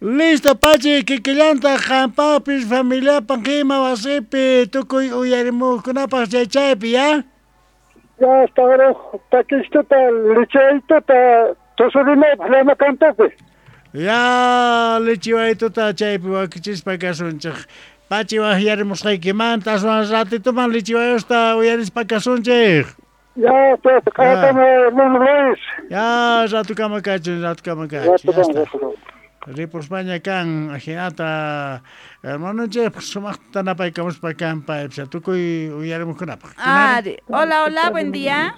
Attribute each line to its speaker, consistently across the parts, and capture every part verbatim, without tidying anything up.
Speaker 1: Listo, Pachi, kikillantaq qampapis familiapaq ima wasipi tukuy uyarimuqkunapaq chay chaypi, ya?
Speaker 2: Ya, hasta ahora, takistuta, lichaytuta, tusurinaypaq llama cantopi.
Speaker 1: Ya, lichiwaytuta chaypi wakichispa kasunchik. Pachi waqyarimusqaykimanta aswan ratituman lichiwayusta uyarispa kasunchik.
Speaker 2: Ya, pues, qatama, hermano Luis.
Speaker 1: Ya, ratukama kachun, ratukama kachun. Ya está. Ripuspaña kan ajinata hermanonchik sumaqta napaykamuspa kan paypis tukuy uyarimuqkunapaq.
Speaker 3: Ari, hola, hola, buen día.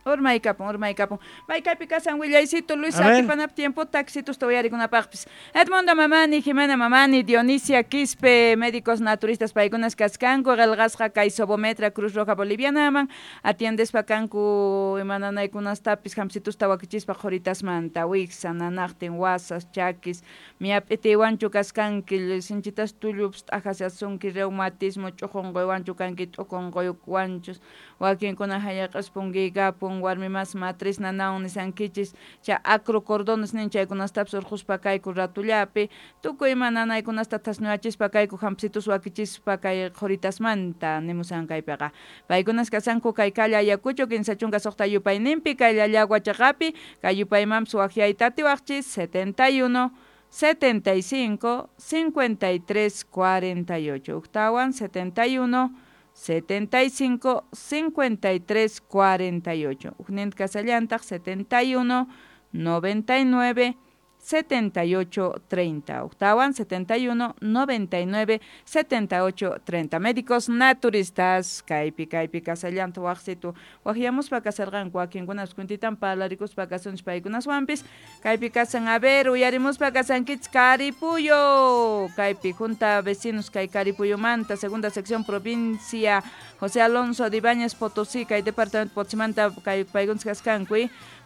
Speaker 3: Urmaykapun, urmaykapun. Maykaypi kasan willaycito Luis atipanap tiempo taxitusta uyarikunapaqpis. Edmundo Mamani, Jimena Mamani, Dionisia Quispe, médicos naturistas paykunas kaskanku, qillqasqa kay Sobometra Cruz Roja Bolivianaman, atiendespa kanku imananaykunastapis hamsitusta wakichispa qhuritasmanta, wiksa, nanaqtin, wasas, chakis, miyap'itiwanchu kaskanki, sinchitas tullupis t'ajasasunki, reumatismo, ch'uqunquywanchu kanki, t'ukunquywanchus, wakinkuna hayaq'aspunkiykapun, warmi mas matriz nanawan nisankichis, chay acrocordones nin chaykunastapis urquspa kayku ratullapi, tukuy ima nanaykunasta thasnuyachispa kayku hampsitus wakichispa kay qhuritasmanta nimusan kaypiqa. Paykunas kasanku kay calle Ayacucho kinsa chunka suqta yupayninpi, kay Llallagua chaqapi, kay yupaymanpis waqyayta atiwaqchis setenta y uno, setenta y cinco, cincuenta y tres, cuarenta y ocho. Uktawan setenta y uno, setenta y cinco, cincuenta y tres, cuarenta y ocho. Ujnint kasallantaq setenta y uno, noventa y nueve, setenta y ocho, treinta. Octawan setenta y uno, noventa y nueve, setenta y ocho, treinta. Médicos naturistas, kaypi, kaypi, kasallanta waqsitu. Waqyamuspa kasarqanku wakinkunas kuntitan parlarikuspa kasunchis paykunaswanpis. Kaypi kasan, a ver, uyarimuspa kasankichis Caripuyo. Kaypi, junta vecinos kay Caripuyomanta, segunda sección, provincia José Alonso de Ibáñez Potosí, kay departamento Potsimanta, kay paykunas kaskanku.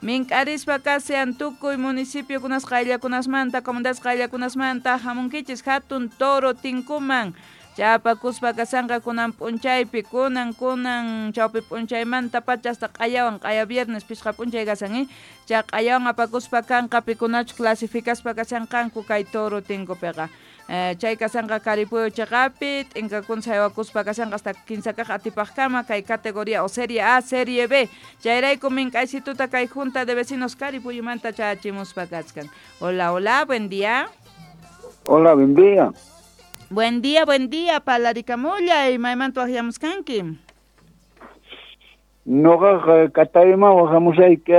Speaker 3: Mink'arispa kasean tukuy municipio kunas qayllakunasmanta, comunidades qayllakunasmanta, hamunkichis hatun toro tinkuman. Chapakuspa kasanqa kunan p'unchaypi, kunan kunan chawpi p'unchaymanta pacha hasta q'ayawan, q'aya viernes pishqa p'unchay kasan, eh? Chay q'ayawan apakuspa kanqa pikunachu clasificaspa kasanqanku kay toro tinkupiqa. Eh, chay kasanqa Caripuyo chaqapi, t'inkakuna saywakuspa kasanqa hasta kinsa kaq atipaqkama kay categoría o serie A, serie B. Chayrayku mink'aysituta kay junta de vecinos Caripuyumanta chachimuspa kachkan. Hola, hola, buen día.
Speaker 4: Hola, buen día.
Speaker 3: Buen día, buen día, palaricamulla, y maymanta waqyamuskanki.
Speaker 4: Noqaqa Katayman waqamusayki,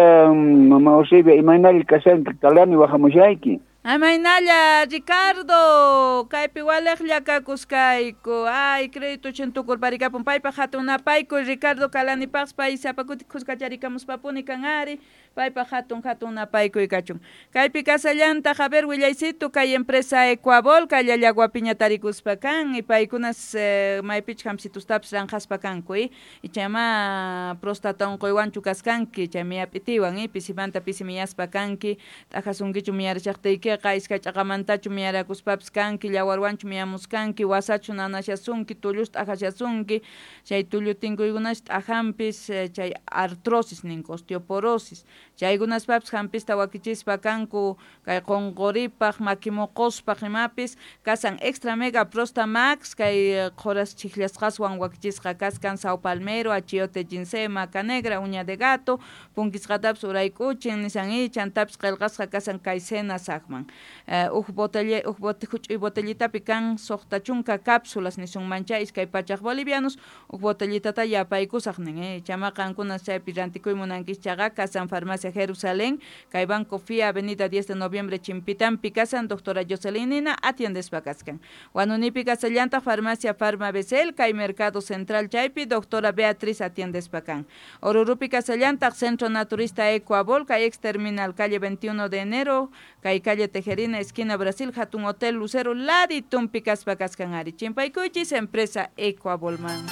Speaker 4: mama Eusebia, imaynalla kashanki, Kalani waqamusayki.
Speaker 3: Amaynalla, Ricardo, kaypi waliqlla kakuskayku. Ay, crédito chintukurparikapun paypaq hatun napaykuy, Ricardo Kalanipaqpas pay sapa kuti khuskacharikamuspapuni kan ari, paypaq hatun hatun napaykuy kachun. Kaypi kasallantaq, a ver, willaysitu, kay empresa Ecuabol, kay Llallaguapiña tarikuspa kan, y paykunas eh, maypichus hamsitustapis ranqaspa kanku, eh? Ichama prostata unquywanchu kaskanki, chay miyap'itiwan, eh? Pisimanta pisi miyaspa kanki, t'ajasunkichu miyarishaqtiykiqa, iskay ch'aqamantachu miyarakuspapis kanki, llawarwanchu miyamuskanki, wasachu nanashasunki, tullusta t'ajashasunki, chay tullu tinkuykunash t'ajanpis, chay artrosis ninku, osteoporosis, chaykunaspapis hampista wakichispa kanku, kay qunquripaq, makimuquspaq imapis, kasan extra mega prosta max, kay qhuras chikllasqaswan wakichisqa kaskan Sao Palmero, achiote, ginseng, maca negra, uña de gato, punkisqatapis urayk'uchin, nisan i, chantapis qillqasqa kasan kay cena saqman. Uh, uj botella, uj bote, huch'uy botellitapi kan suqta chunka cápsulas nisunman chay iskay pachaq bolivianos, uj botellitata yapaykusaq nin, eh? Chama qankuna chaypi rantikuy munankis chaqa kasan Farmacia Jerusalén, kay Banco F I A, Avenida diez de Noviembre, Chimpitampi kasan, doctora Jocelyn Nina, atiendespa kaskan. Wanunipi kasallantaq Farmacia Farma Becel, kay Mercado Central chaypi, doctora Beatriz atiendespa kan. Orurupi kasallantaq Centro Naturista Ecuabol, kay ex terminal, calle veintiuno de enero, kay calle Tejerina, esquina Brasil, Hatun Hotel Lucero, Laditumpi kaspa kaskan ari. Chimpaykuchis, empresa Ecuabolman.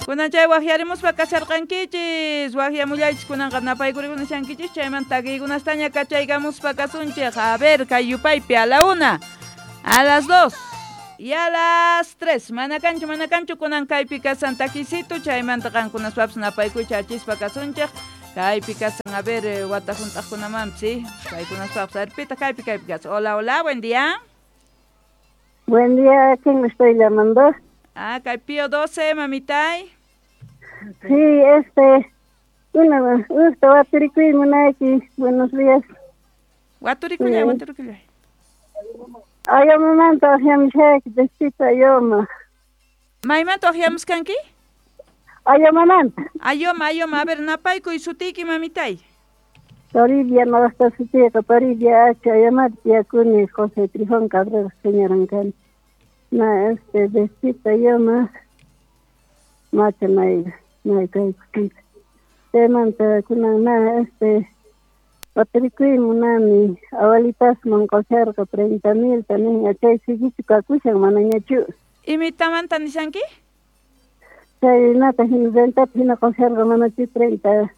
Speaker 3: Kunan chay waqyarimuspa kasharqankichis, waqyamullaychis kunanqa napaykurikuna shankichis, chayman takiykunastaña kachaykamuspa kasunchik. A ver, kay yupaypi a la una, a las dos y a las tres. Mana kanchu, mana kanchu, kunan kaypi kasan takisito, chaymanta qankunaspapis napaykuy chachispa kasunchik. Kaypi kasan, a ver, wata junt'aqkunamanpis, ¿sí? Paykunaspaqpis. A ver, pita, kaypi, kaypi kasan. Hola, hola, buen día.
Speaker 5: Buen día, ¿quién me estoy llamando?
Speaker 3: Ah, kay Pío doce, mamitay.
Speaker 5: Sí, este, una, gusto, waturikuy, munayki, buenos días.
Speaker 3: Waturikullay, waturikullay.
Speaker 5: Ayomamanta waqyamushayki, despito Ayoma.
Speaker 3: Maymanta waqyamuskanki?
Speaker 5: Ayomamanta.
Speaker 3: Ayoma, Ayoma, a ver, napaykuy sutiyki, mamitay.
Speaker 5: Toribia, noqasta sutiyqa, Toribia H, Ayomata tiyakuni, José Trifón Cabrera, señoran kani. Na, este, despito Ayoma, macha may, may kaykutinta. Chaymanta kunan na, este, waturikuy munani, awalitasman qusharqa treinta milta niña, chay siguichu kakushan manañachu.
Speaker 3: Imitamanta nishanki?
Speaker 5: Chay nata hina rentata hina qusharqa manachu treinta.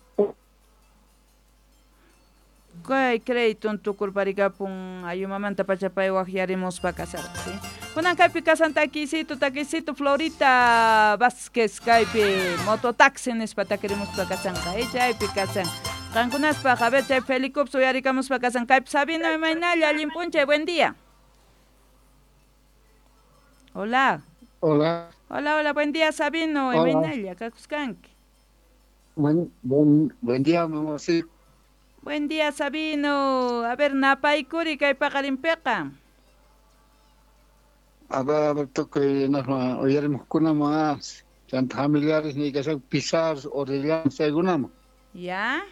Speaker 3: Kay crédito tukurparikapun ayumamanta pachapay waqyarimuspa kasarqa, ¿sí? Kunan kaypi kasan takisito, takisito Florita Vázquez kaypi mototaxi nispa takirimuspa kasanqa, eh, chaypi kasan. Qankunaspaq, a ver, chay Felicups uyarikamuspa kasan. Kaypi Sabino imaynalla, allin p'unchay, buen día. Hola.
Speaker 2: Hola.
Speaker 3: Hola, hola, buen día, Sabino, imaynalla, kakuskanki.
Speaker 2: Buen, buen, buen día, mamá, sí.
Speaker 3: Buen día, Sabino. A ver, napaykuri kay paqarinpiqa.
Speaker 2: A ver, a ver, tukuy nasma uyarimuqkunama, chanta familiares ni kashan Pizarro, Orellana, chaykunama.
Speaker 3: Ya.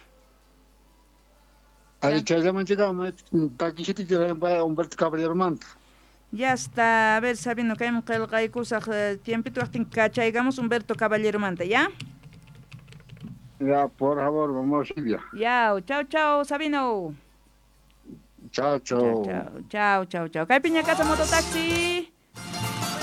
Speaker 2: Ari chayllaman chikama, takishiti chayman Humberto Caballeromanta.
Speaker 3: Ya está. A ver, Sabino, kayman qillqaykusaq tiempito waqtin kachaykamos Humberto Caballeromanta, ¿ya?
Speaker 2: Ya, por favor, vamos, Silvia.
Speaker 3: Ya, chao, chao, Sabino.
Speaker 2: Chao, chao.
Speaker 3: Chao, chao, chao, chao. Kaypiña kasa mototaxi.